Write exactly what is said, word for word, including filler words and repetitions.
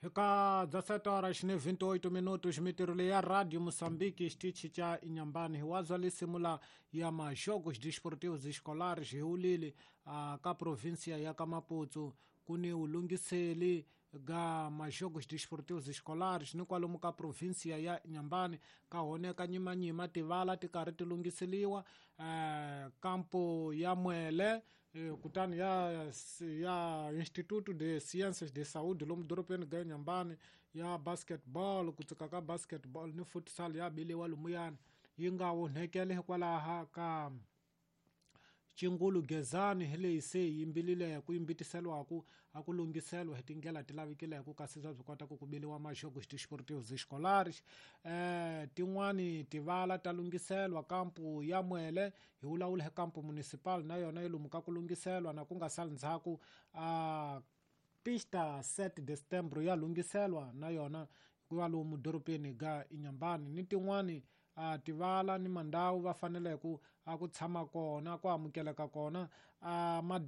Eka dezessete horas ne vinte e oito minutos, mitirho leyi ya Radio Moçambique, xitichi xa Inhambane, hi wazwa lisimula ya majogos desportivos escolares hi ulili uh, ka província ya ka Maputo ku ni ulungiseli ga majogos desportivos escolares ni kwalomu ka província ya Inhambane ka honeka nyimanyima tivala ti karhi ti lunghiseliwa uh, kampo ya Mwele kutani ya ya Instituto de Ciências de Saúde lomu dorobeni ga Inhambane ya basketball ku tsika ka basketball ni futsal ya biliwa lumuyani yi nga onhekele hikwalaha ka Chingulu Gezani hi leyi se yi yimbilile ku yimbitiseliwaku a ku lunghiseliwa hi tindlela ti lavikileke kasi bya byi kota ku ku biliwa majogos desportivos escolares. eh tin'wani tivala ta lunghiselwa kampu ya Mwele hi vulavula hi kampu municipal na yona yi lomu ka ku lunghiselwa na ku nga sali ndzhaku a pista sete de setembro ya lunghiselwa na yona ku va lomu dorobeni ga Inhambane ni tin'wani a tivala ni mandhawu va faneleke a ku tshama kona ku amukeleka kona a